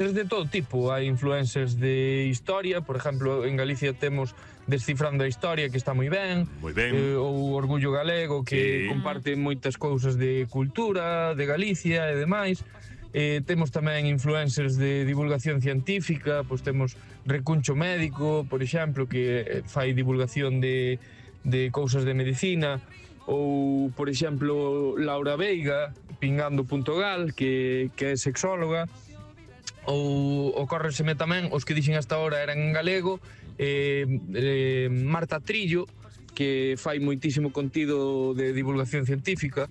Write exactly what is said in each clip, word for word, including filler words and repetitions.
de todo tipo, hai influencers de historia, por exemplo, en Galicia temos Descifrando a Historia, que está moi ben, moi ben. Eh, ou Orgullo Galego, que sí. comparte moitas cousas de cultura, de Galicia e demais. Eh, temos tamén influencers de divulgación científica, pois temos Recuncho Médico, por exemplo, que fai divulgación de, de cousas de medicina, ou, por exemplo, Laura Veiga, Pingando punto gal, que, que é sexóloga, ou ocórreseme tamén, os que dixen hasta ahora eran en galego, eh, eh, Marta Trillo, que fai moitísimo contido de divulgación científica.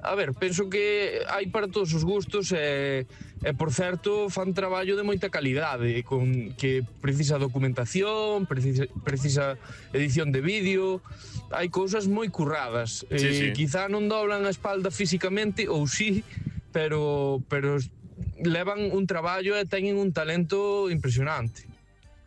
A ver, penso que hai para todos os gustos e, e por certo, fan traballo de moita calidade, con, que precisa documentación, precisa, precisa edición de vídeo, hai cousas moi curradas. Sí, eh, sí. Quizá non doblan a espalda físicamente, ou sí, pero, pero levan un traballo e teñen un talento impresionante.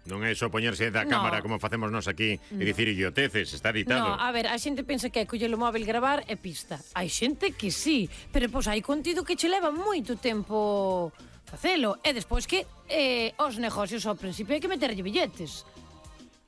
Non é só poñerse da cámara no. como facemos nós aquí e dicir idioteces, está No, editado. a ver, a xente pensa que é coller o móvil, gravar e pista. Hai xente que sí, pero pois hai contido que che leva moito tempo facelo. E despois que eh, os negocios ao principio hai que meterlle billetes.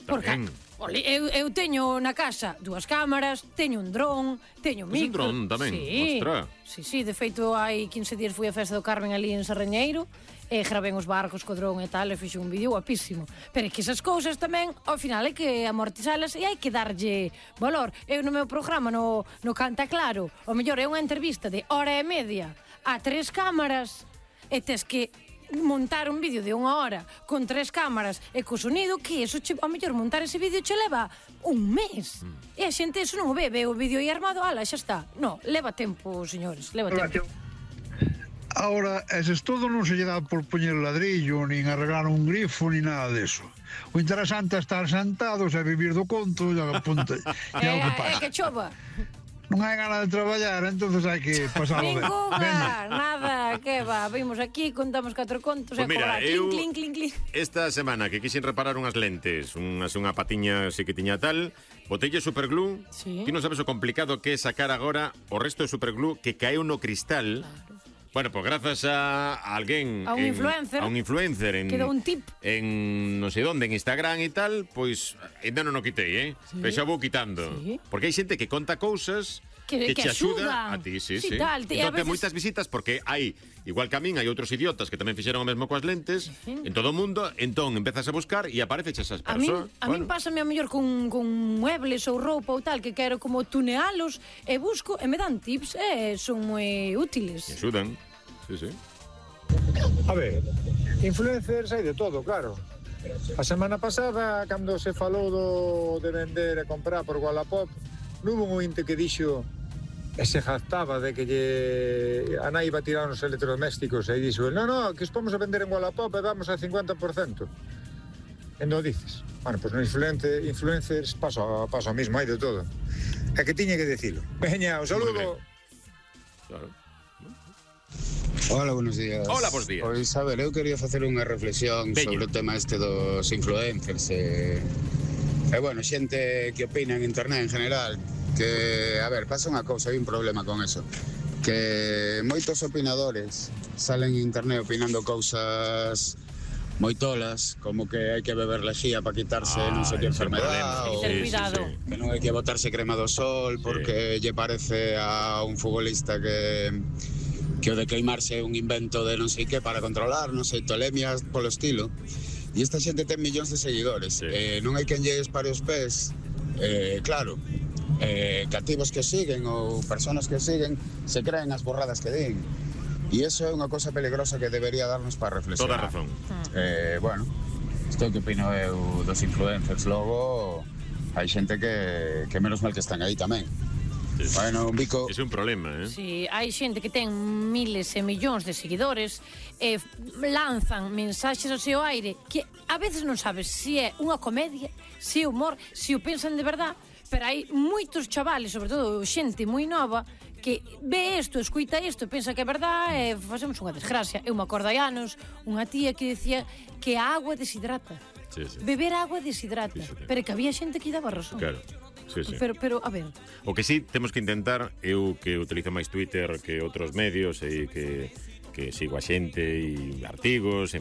Porque, ole, eu, eu teño na casa dúas cámaras, teño un dron, teño un micro. Un dron tamén, sí, ostra. Sí, sí, de feito hai quince días fui á festa do Carmen ali en Sarrañeiro e gravei os barcos co dron e tal e fixe un vídeo guapísimo. Pero é que esas cousas tamén, ao final, hai que amortizalas e hai que darlle valor. Eu no meu programa, no, no Canta Claro, o mellor é unha entrevista de hora e media a tres cámaras e tes que montar un vídeo de unha hora con tres cámaras e co sonido, que eso che, ao mellor montar ese vídeo che leva un mes. Mm. E a xente eso non o ve, ve o vídeo aí armado, ala, xa está. No, leva tempo, señores, leva tempo. Ahora, ese todo non se lle dá por poñer ladrillo, nin arreglar un grifo, nin nada deso. O interesante é estar sentados e vivir do conto e a punta. E é o que pasa. É que chova. Non hai ganas de traballar, entonces hai que pasarlo ben. Ninguna, nada, que va, vimos aquí, contamos catro contos pues e mira, cobrar, eu, clink, clink, clink, clink. Esta semana que quixen reparar unhas lentes, unhas, unha patiña así que tiña tal, botelle superglue, sí. Ti non sabes o complicado que é sacar agora o resto de superglue que caeu no cristal. Claro. Bueno, pues grazas a, a alguén, a un en, influencer, a un influencer en, quedou un tip en non sei onde, en Instagram e tal, pois ainda non o quitei, eh? Sí. Pero xa vou quitando. Sí. Porque hai xente que conta cousas que, que, que te axuda axuda a ti, sí, sí. sí. Tal, te, entón, veces... ten moitas visitas porque hai, igual que a min, hai outros idiotas que tamén fixeron o mesmo coas lentes, sí. En todo o mundo, entón empezas a buscar e aparece esas persoas. A min, a bueno. min pásame a mellor con, con muebles ou roupa ou tal, que quero como tunealos e busco e me dan tips e son moi útiles. Me axudan. Sí, sí. A ver, influencers hai de todo, claro. A semana pasada, cando se falou do de vender e comprar por Wallapop, non hubo un ointe que dixo e se jactaba de que lle... a nai iba a tirar os electrodomésticos e dixo, no, no, que os vamos a vender en Wallapop e vamos a cincuenta por cento. E non dices. Bueno, pois pues no influencer, influencers pasa, pasa o mismo, hai de todo. É que tiña que dicilo. Veña, un saludo. Claro. Hola, buenos días. Hola, buenos días. Pois, a ver, eu quería facer unha reflexión Veña. sobre o tema este dos influencers e, e bueno, xente que opina en internet en general, que, a ver, pasa unha cousa, hai un problema con eso, que moitos opinadores salen en internet opinando cousas moi tolas, como que hai que beber lexía para quitarse ah, non sei que enfermedad, ou sí, sí, sí. que non hai que botarse crema do sol porque sí. lle parece a un futbolista que que o de queimarse é un invento de non sei que para controlar, non sei, tolemias polo estilo. E esta xente ten millóns de seguidores. Sí. Eh, non hai quen lle espare os pés. Eh, claro, eh, cativos que siguen ou personas que siguen se creen as borradas que din. E iso é unha cosa peligrosa que debería darnos para reflexionar. Toda razón. Eh, bueno, isto que opino eu dos influencers. Logo, hai xente que, que menos mal que están aí tamén. Sí. Bueno, un bico... É un problema, eh? Sí, hai xente que ten miles e millóns de seguidores e lanzan mensaxes ao seu aire que a veces non sabes se é unha comedia, se é humor, se o pensan de verdad, pero hai moitos chavales, sobre todo xente moi nova, que ve isto, escuita isto, pensa que é verdad e facemos unha desgracia. Eu me acordo hai anos unha tía que decía que a agua deshidrata. Sí, sí. Beber agua deshidrata, sí, sí. Pero que había xente que daba razón. Claro. Sí, sí. Pero, pero, a ver... O que sí temos que intentar, eu que utilizo máis Twitter que outros medios e que que sigo a xente e artigos, en fin,